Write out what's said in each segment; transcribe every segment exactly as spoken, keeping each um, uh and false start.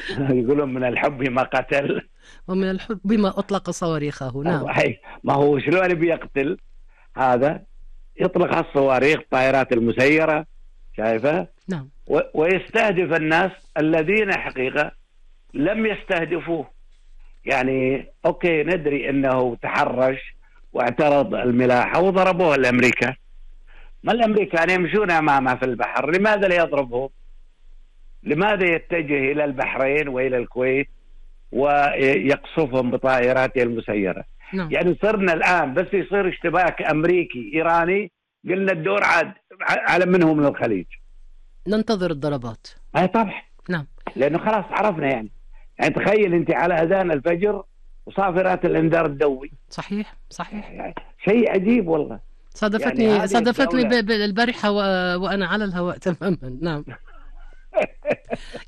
يقولون من الحب ما قتل. ومن الحب بما أطلق صواريخه. نعم. صحيح. ما هو شلون بيقتل هذا؟ يطلق على الصواريخ، الطائرات المسيرة، شايفة؟ نعم. ويستهدف الناس الذين حقيقة لم يستهدفوه. يعني أوكي، ندري أنه تحرش واعترض الملاحة وضربوه الأمريكا. ما الأمريكان يمشون أمامه في البحر، لماذا لا يضربهم؟ لماذا يتجه إلى البحرين وإلى الكويت ويقصفهم بطائراته المسيرة؟ نعم. يعني صرنا الآن بس يصير اشتباك أمريكي إيراني قلنا الدور عاد على منهم من الخليج، ننتظر الضربات. أي طبعا. نعم. لأنه خلاص عرفنا. يعني يعني تخيل أنت على أذان الفجر وصافرات الإنذار الدولي. صحيح صحيح. يعني شيء عجيب والله. صادفتني يعني صادفتني البارحة وأنا على الهواء تماما. نعم.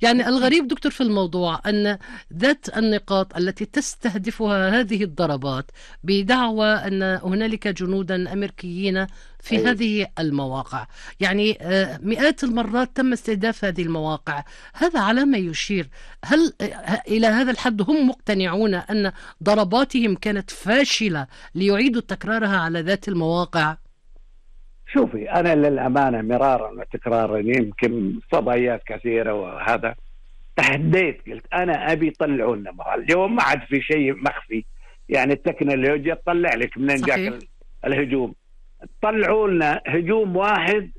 يعني الغريب دكتور في الموضوع أن ذات النقاط التي تستهدفها هذه الضربات بدعوى أن هنالك جنودا أمريكيين في أيه. هذه المواقع، يعني مئات المرات تم استهداف هذه المواقع. هذا على ما يشير، هل إلى هذا الحد هم مقتنعون أن ضرباتهم كانت فاشلة ليعيدوا تكرارها على ذات المواقع؟ شوفي، أنا للأمانة مرارا وتكرارا يمكن فضائيات كثيرة وهذا تحديت، قلت أنا أبي يطلعون لنا اليوم، ما عاد في شيء مخفي. يعني التكنولوجيا تطلع لك من جاك الهجوم. طلعوا لنا هجوم واحد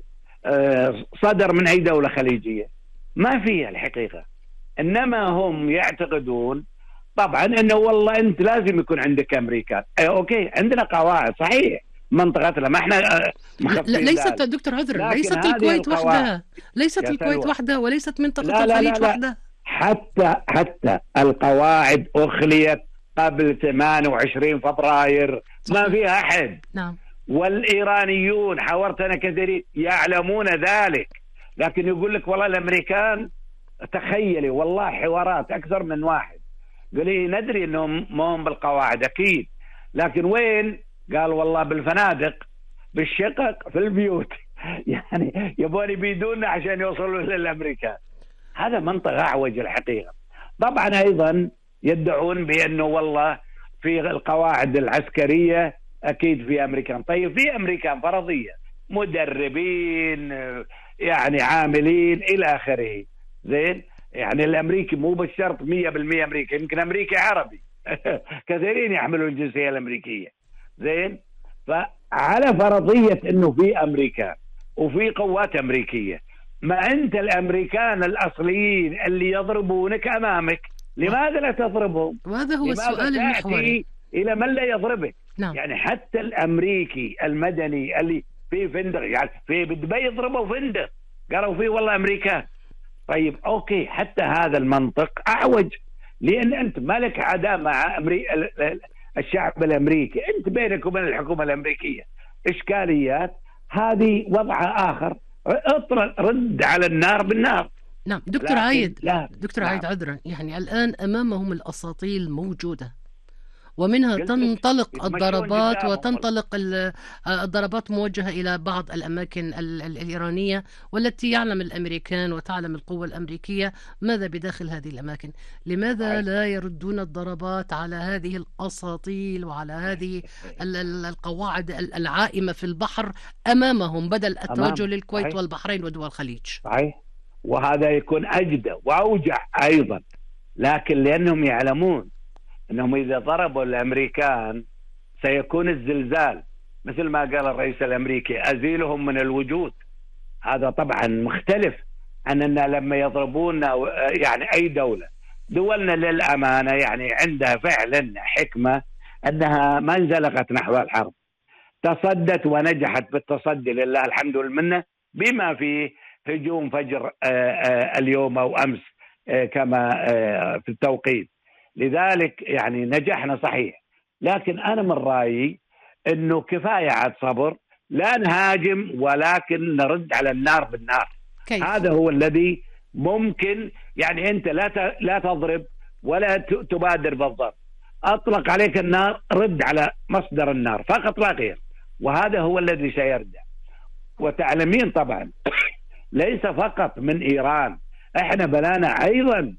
صدر من أي دولة خليجية، ما فيها الحقيقة. إنما هم يعتقدون طبعا أنه والله أنت لازم يكون عندك أمريكان. أي أوكي، عندنا قواعد صحيح منطقتنا، ما احنا لا ليست دكتور عذر، ليست الكويت وحدها، ليست الكويت وحدها، وليست منطقة لا لا الخليج لا وحدها. حتى حتى القواعد أخليت قبل ثمانية وعشرين فبراير، ما فيها أحد. نعم. والإيرانيون حاورت أنا كثيرين يعلمون ذلك، لكن يقول لك والله الأمريكان، تخيلي والله حوارات أكثر من واحد قال لي ندري أنهم ما هم بالقواعد أكيد، لكن وين؟ قال والله بالفنادق، بالشقق، في البيوت. يعني يبون يبيدونا عشان يوصلوا للأمريكان. هذا منطق أعوج الحقيقة. طبعا أيضا يدعون بأنه والله في القواعد العسكرية أكيد في أمريكان. طيب في أمريكان فرضية، مدربين، يعني عاملين إلى آخره، زين. يعني الأمريكي مو بالشرط مية بالمية أمريكي، يمكن أمريكي عربي. كثيرين يحملوا الجنسية الأمريكية، زين. فعلى فرضية أنه في أمريكان وفي قوات أمريكية، ما أنت الأمريكان الأصليين اللي يضربونك أمامك، لماذا لا تضربهم؟ وهذا هو السؤال المحوري. إلى من لا يضربك؟ نعم. يعني حتى الأمريكي المدني اللي في فندق، يعني في دبي يضربوا فندق قالوا فيه والله أمريكان. طيب أوكي، حتى هذا المنطق أعوج، لأن أنت مالك عداء مع أمريكا، الشعب الأمريكي، أنت بينك وبين الحكومة الأمريكية إشكاليات، هذه وضع آخر. اطرد، رد على النار بالنار. نعم دكتور عايد، لا. دكتور نعم. عايد عذرا، يعني الآن أمامهم الأساطيل موجودة، ومنها تنطلق الضربات وتنطلق الضربات موجهة إلى بعض الأماكن الإيرانية، والتي يعلم الأمريكان وتعلم القوة الأمريكية ماذا بداخل هذه الأماكن. لماذا لا يردون الضربات على هذه الأساطيل وعلى هذه القواعد العائمة في البحر أمامهم، بدل التوجه للكويت صحيح. والبحرين ودول الخليج؟ صحيح. وهذا يكون أجدى وأوجع أيضا، لكن لأنهم يعلمون أنهم إذا ضربوا الأمريكان سيكون الزلزال، مثل ما قال الرئيس الأمريكي أزيلهم من الوجود. هذا طبعا مختلف عن أننا لما يضربونا، يعني أي دولة دولنا للأمانة يعني عندها فعلا حكمة أنها ما انزلقت نحو الحرب، تصدت ونجحت بالتصدي لله الحمد والمنة، بما فيه هجوم فجر اليوم أو أمس كما في التوقيت. لذلك يعني نجحنا صحيح، لكن أنا من رأيي أنه كفاية عاد صبر، لا نهاجم ولكن نرد على النار بالنار. كيف؟ هذا هو الذي ممكن. يعني أنت لا لا تضرب ولا تبادر بالضرب، أطلق عليك النار، رد على مصدر النار فقط لا غير، وهذا هو الذي سيردع. وتعلمين طبعا ليس فقط من إيران، احنا بلانا أيضا